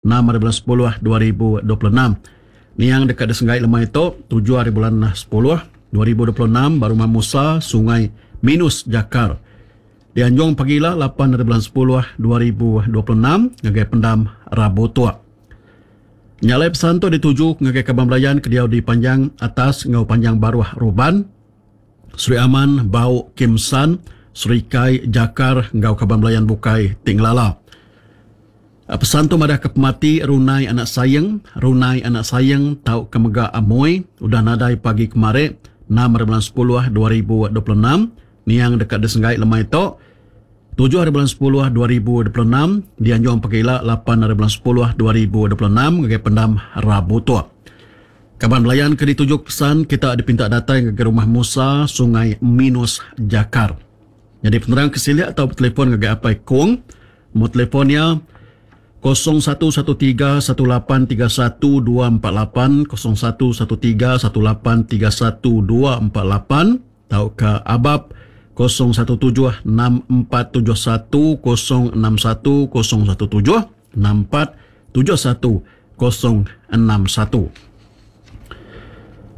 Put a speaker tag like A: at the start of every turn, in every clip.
A: 6 ari bulan sepuluh 2026. Niang deka disenggai lemai tu, tujuh ari bulan sepuluh 2026 ba Rumah Musa, Sungai Minus, Jakar. Dianjung pagila lapan ari bulan sepuluh 2026 ngagai Pendam Rabu Tuk. Nya alai pesan tu dituju ngagai kaban belayan ke diau di Panjang Atas enggau Panjang Baruh Ruban, Sri Aman, Bau, Kim San, Serikai, Jakar enggau kaban belayan bukai ti ngelala. Pesan tu madahka pemati Runai anak Saing, Runai anak Saing tauka mega Amoi udah nadai pagi kemari, enam ari bulan sepuluh 2026, niang deka disenggai lemai tu, tujuh ari bulan sepuluh 2026, dianjung pagi ila lapan ari bulan sepuluh 2026 ngagai pendam Rabu tu. Kaban belayan ke dituju pesan kita dipinta datai ngagai Rumah Musa, Sungai Minus, Jakar. Nyadi penerang ke silik tau betelefon ngagai Apai Kong. Nombor telefon iya 0113 1831 248, 0113 1831 248 tauka abab 017 6471 061 017 6471 061.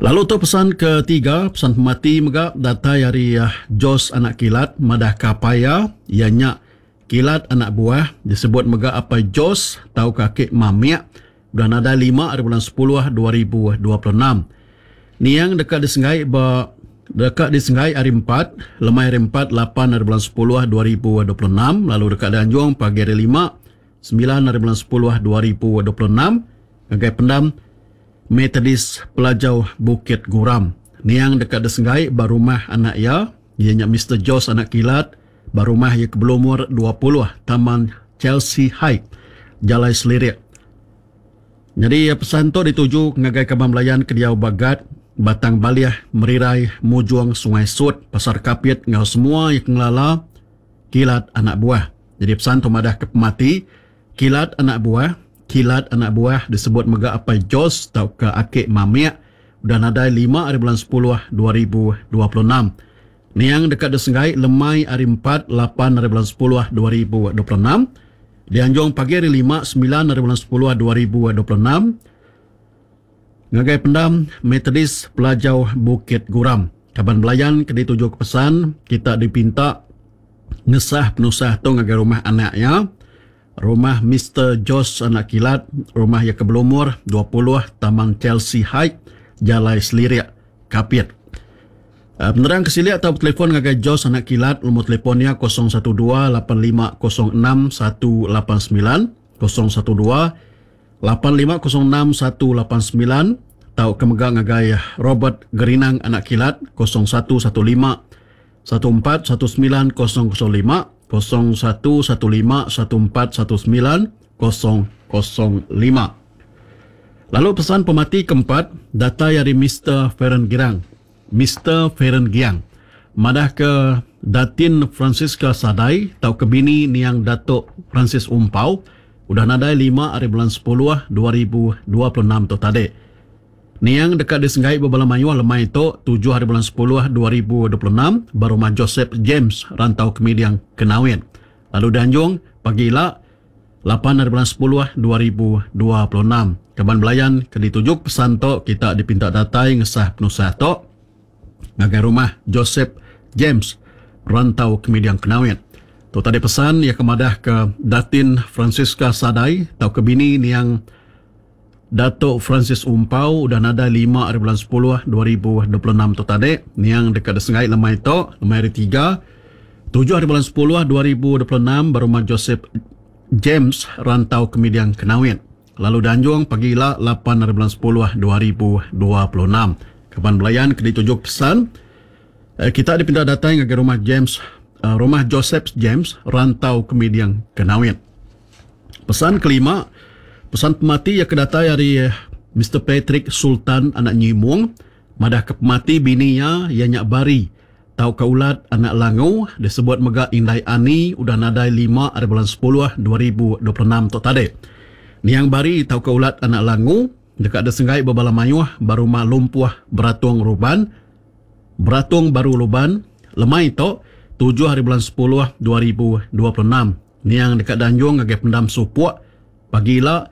A: Lalu tu pesan ketiga, pesan pemati mega datai ari Jos anak Kilat madahka apai iya, iya nya Kilat anak buah, disebut mega Apai Jos tauka Aki Mamik, udah nadai lima ari bulan sepuluh 2026. Niang deka disenggai ba deka disenggai hari empat, lemai hari empat lapan ari bulan sepuluh 2026 lalu deka dianjung pagi hari lima, semilan ari bulan sepuluh 2026 ngagai pendam Methodist Pelajau Bukit Guram. Niang deka disenggai ba rumah anak iya, iya nya Mister Jos anak Kilat, Ba rumah iya ke belumur 20 Taman Chelsea Height, Jalai Selirik. Nyadi pesan tu dituju ngagai kaban belayan ke diau ba Gat, Batang Balih, Merirai, Mujong, Sungai Sut, Pasar Kapit enggau semua iya ke ngelala Kilat Anak Buah. Nyadi pesan tu madah ke pemati Kilat Anak Buah, Kilat Anak Buah disebut mega Apai Jos tauka Aki Mamik udah nadai lima ari bulan sepuluh 2026. Niang deka disenggai lemai hari empat, lapan ari bulan sepuluh 2026, dianjung pagi hari lima, semilan ari bulan sepuluh 2026 ngagai pendam Methodist Pelajau Bukit Guram. Kaban belayan ke ditujuka pesan, kita dipinta ngesah penusah tu ngagai rumah anak iya, Rumah Mister Jos anak Kilat, rumah iya ke belumur 20 Taman Chelsea Height, Jalai Selirik, Kapit. Penerang ke silik tau betelefon ngagai Jos anak Kilat lumur telefon iya 012 8506 189, 012 8506 189 tauka mega ngagai Robert Gerinang anak Kilat 0115 1419 005, 0115 1419 005. Lalu pesan pemati keempat datai ari Mister Feren Girang. Mister Feren Giang madahka Datin Francisca Sadai tauka bini niang Datuk Francis Umpau udah nadai lima ari bulan sepuluh 2026 tu tadi. Niang deka disenggai bebala mayuh lemai tu tujuh ari bulan sepuluh 2026 ba Rumah Joseph James Rantau Kemiding Kenawit lalu dianjung pagi ila lapan ari bulan sepuluh 2026. Kaban belayan ke dituju pesan tu kita dipinta datai ngesah penusah tu ngagai Rumah Joseph James Rantau Kemiding Kenawit. Tu tadi pesan iya ke madahka Datin Francisca Sadai tauka bini niang Datuk Francis Umpau udah nadai lima ari bulan sepuluh 2026 tu tadi. Niang deka disenggai lemai tu, lemai hari tiga, tujuh ari bulan sepuluh 2026 ba Rumah Joseph James, Rantau Kemiding Kenawit. Lalu dianjung pagi ila lapan ari bulan sepuluh 2026. Kaban belayan ke dituju pesan, kita dipinta datai ngagai Rumah James, Rumah Joseph James, Rantau Kemiding Kenawit. Pesan kelima, pesan pemati iya ke datai ari Mister Patrick Sultan anak Nyimung madahka pemati bini iya, iya nya Bari tauka Ulat anak Langu disebut mega Indai Ani udah nadai lima ari bulan sepuluh 2026 tu tadi. Niang Bari tauka Ulat anak Langu deka disenggai bebala mayuh ba Rumah Lumpuh Beratung Ruban, Beratung Baru Luban, lemai tu, tujuh ari bulan sepuluh 2026. Niang deka dianjung ngagai pendam Supok pagi ila.